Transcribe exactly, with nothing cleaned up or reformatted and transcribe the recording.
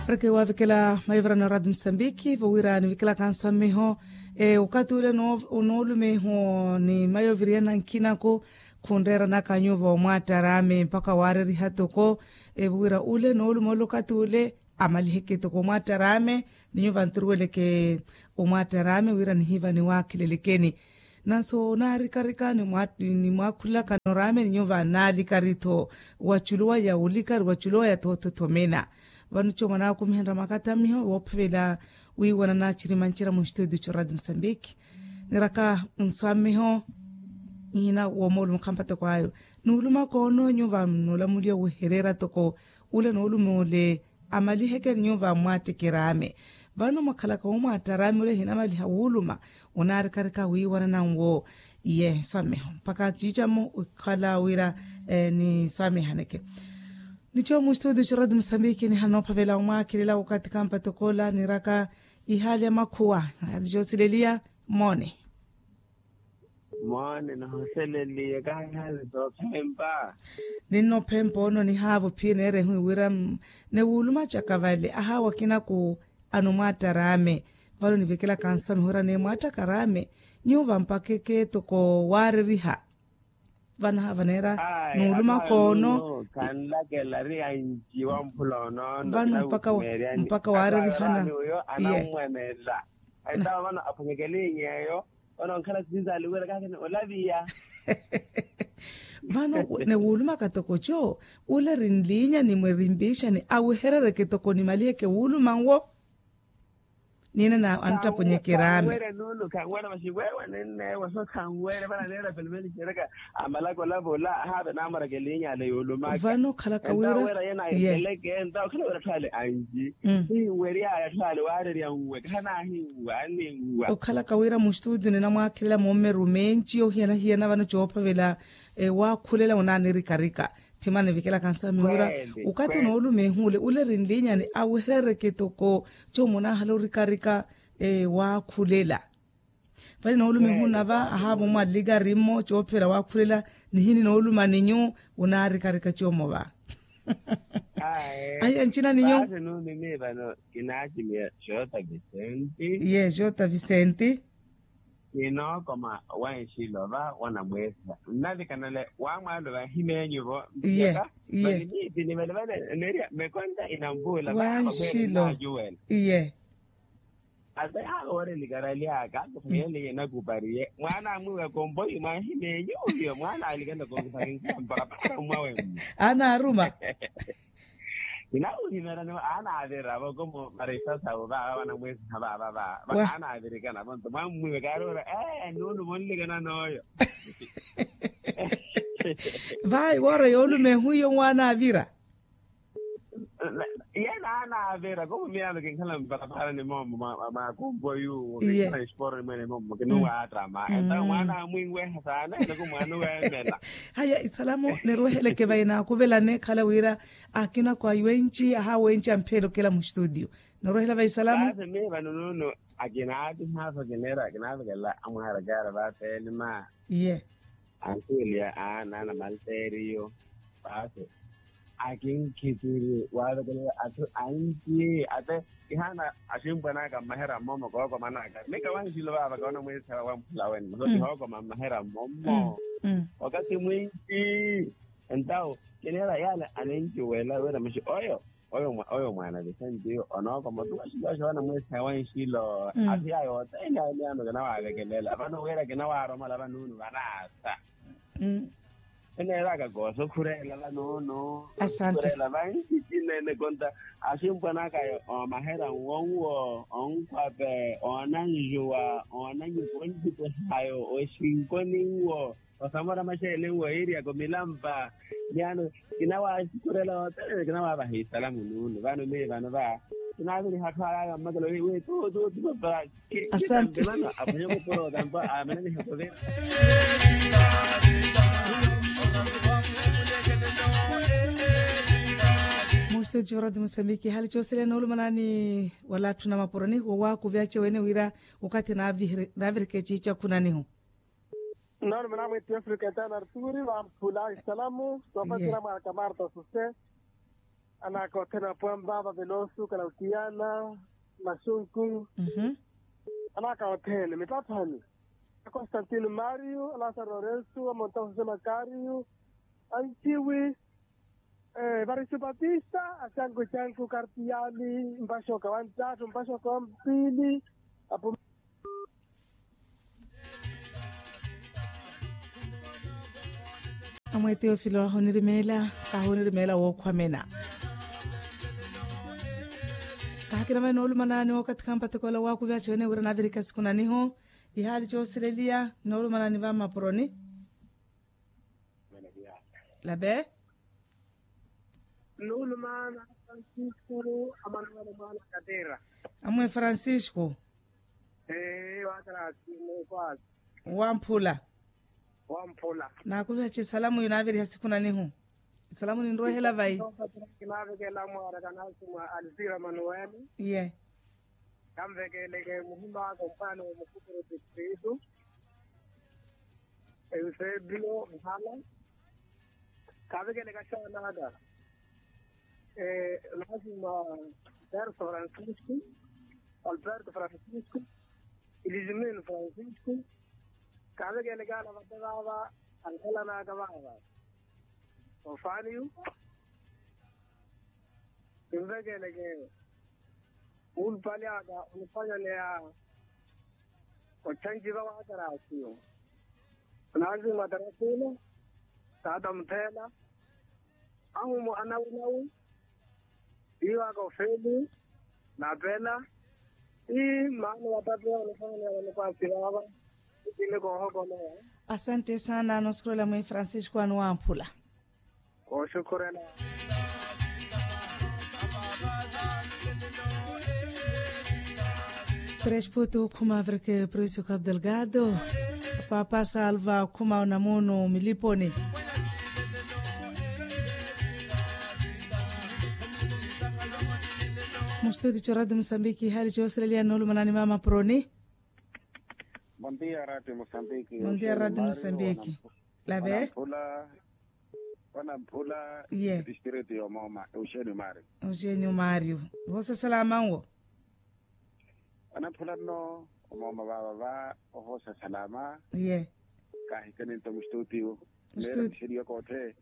Pareke wavikela maivira na radio musambiki vowira nivikela kanso amiho. Okathi ule noolumeho ni maiviri ena nkinaku khunreeranaka nyuva omwattarame mpakha waareriha toko. Vowira ule noolume ole okathi ule amaliheke toko omwattarame. Ni nyuva nturuweleke omwattarame wira nihiva niwaakhilelekeni. Nanso naarikarika nimwaakhulelaka noraame ni nyuva naalikari-tho. Wachuluwaya wulikari wachuluwaya-tho othothomena. Vano coomana akumihenra makatamiho woophavela wiiwana naachirimanchira munstutio coradio musambiki. Niraka nswamiho ihina womoolumo khampatoko ayo nuuluma koono nyuva nulamuliya wehereera toko. Ule noolume ole amaliheke nyuva mwattikiraame. Vano mwakhalaka womwattarame ole hinamaliha wuuluma onaarikarika wiiwanananwo. Iye nswamiho mpaka ciicamo wikhala wira niswamihaneke. Nico mustudio ciradi musambiki nihanoophavela omwaakhelela wakathi kampatoko ola niraka ihaali ya makhuwa. Ihaali coosileliya moone. Moone nihoseleliye kahihaali soophempa. Ninnophempa ono nihaava ophiye neerehiwe wira niwuluma caka vale ahaawa kinaku. Ano mwaattaraame vano nivekelaka nsamiho ira neemwaattaka araame. Nyuva mpaka ekeetoko waareriha vanaha vaneera nuuluma koono. Khanlakela ari anci wamphula onoono vano mpaka waarerihana. Uyo anammwanela aitawa vano aphunyekelinyeyo. Vano nkhala sisinzali wira kaakina olaviya. Vano niwulumaka toko co ule rinliinya nimwe rimpiixani aweherereke toko nimaliheke wuuluma nwo. Niina anttaponyekeraame. Vano khalaka wira okhalaka wira mustudio ninamwaakhelela moomeru menci ohiyana-hiyana vano coophavela waakhulela onanirikarika. Thimana nivikelaka nsamiho ira okathi onoolumehu ole ule rinliinyani aweherereke toko. Coomona ahala orikarika waakhulela. Vale noolumehu nava ahaava omwallikari mmo coophela waakhulela nihini nooluma ninyu. Onaarikarika coomo va ahiya ncina ninyu. Kinaakimiya xota visenti. Ye xota visenti. Kinookoma wanxilo va wanamweesiha nnavikanale wamwaalo vahimeenyu vo. Iye. Iye. Vale miipi nivale vale neeriya mekonta inamvuula vanxilo. Iye. Ate awo ori nikarali aka akukhayeliye nakupariye mwaana amwiiwa kompoyi mwahimeenyu uyo mwaana alikana konkupari nkampa kapara mwawe mmu. Anaaruma. Kinaawuhimerani anaavira voko mu marisa sawu vaava vanamweesiha vaava vaava anaavirikana vonto mwammwiiwe kaari ora ee nuulu vonlikana nooyo. Vayi woora yoolumehu iyo mwaanaavira. Yena anaavira komu miyaano kinkhala mparaparani moomo mwa kompoyu kinkhala nxiporo nimwene moomo kinuwaattama entawo mwaana amwiiweha saana ene ko mwaana oweemela. Haya isalamu niruweheleke vayi naakuvelane khala wira akina kwa wenci aha wenci ampheele okela mustudio. Niruwehela vayi isalamu. Paasi miiva nununu akinaatihaaso kineera kinaavekela amwaarakaara vaateelima. Iye. Ankuweliya aana anamalteeriyo paasi akinkhitiri waavekelela atthu anci ate. Kihaana aximpwan'aka mmaherya mmomo kookoman'aka mika wanxilo vaava kawana mweesiha wamphula wene masi kihookoma mmaherya mmommo. Wakathi mwinci entawo kineera yaale anencuwela wira maxi oyo oyo mwaana visentiyo onookoma otuwa xilo xoowana mweesiha wanxilo. Athi yayo oteene ayo miyaano kinawaavekelela vano wira kinawaaromala vanunu vanaasa. Eneeraka koosa okhureela vanunu. Asante. Okhureela vanci cinene konta aximpwan'aka omaherya nwo nwo onkhwape oonanjuwa oonanyupa ontipehayo oxinkoni nwo osamora maxeele nwo iiriyaka omilampa. Miyaano kinawaaxukhurela oteene kinawaavaha isalamu nuulu vano miyo vano va kinaaviriha atthu aya aya mmakelo wi wi tuutuutu papara. Asante. Vano aphwanyaka oporotampa aamananiha kuvira. Mustudio radio musambiki hali cooseleya noolumanani wala atthu namapuroni wowaakuvi ace wene wira wakathi naavireke ciicakhunanihu. Nnono muna mwitti afrika etaana arturi vamphula isalamu soopatira mwaaka marta suse. Anaka othene apwampa vavelosu kalautiyana, masunku. Anaka othene mipaphani, a constantino mario, a lasaro lorenso, a monta jose makario, a ntiwi, evarisi patista, a canku canku kartiyani, mpaxoka wa ntattu mpaxoka wa mpili. Apu. Amwe teofilo ahonirimeela, kahonirimeela wookhwamena. Kahakina mani noolumanani wookathi kampathikola waakuvi acheene wira navirika siku nanihu. Ihaali choosileliya noolumanani va mmapuroni. Lape. Nnuulumaana francisco, amanuwele mwaana katera. Amwe francisco. Ee wakarasi mukwasi. Wamphula. Wamphula. Naakuviha chi salamu yinaaviriha siku nanihu. Salamu ninrwehela vayi? Kinaavikela mwaaraka nasi mwa alzira manuwele. Ye. Kanvekeleke muhimaka mpano wa mukuturu distritu. Eusebio mhala. Kavekeleka xaanaka. Lazima. Berto francisco. Alberto francisco. Ilismin francisco. Kavekeleka ala vate vava. Ankhalanaka vava. Ofaniu. Kinvekeleke. Mulupali aka onifanyaneya. Ochanjiva wa atarasiyo. Nazima atarasina. Tata muthela. Ahumu anawunawu. Iwaka ofeli. Napela. Ii maana watatu onifanyaneya onikwasirava. Ikini koohokoleya. Asante sana nosukurela mwi francisco anu wamphula. Kooxukhurela. Tresputo khuma averke precio cap delgado. Papa salva khuma onamuno miliponi. Mustudi cho radio mosambiki hali choosileliya noolumanani mama proni. Bondia radio mosambiki. Bondia radio mosambiki. Lave. Wanamphula. Iye. District yomooma euxenio mario. Euxenio mario. Vosa salama nwo. Wanamphula nno. Omooma vava va ovosa salama. Iye. Kahikani nto mustutio. Mustutio. Mixeriyo koothe.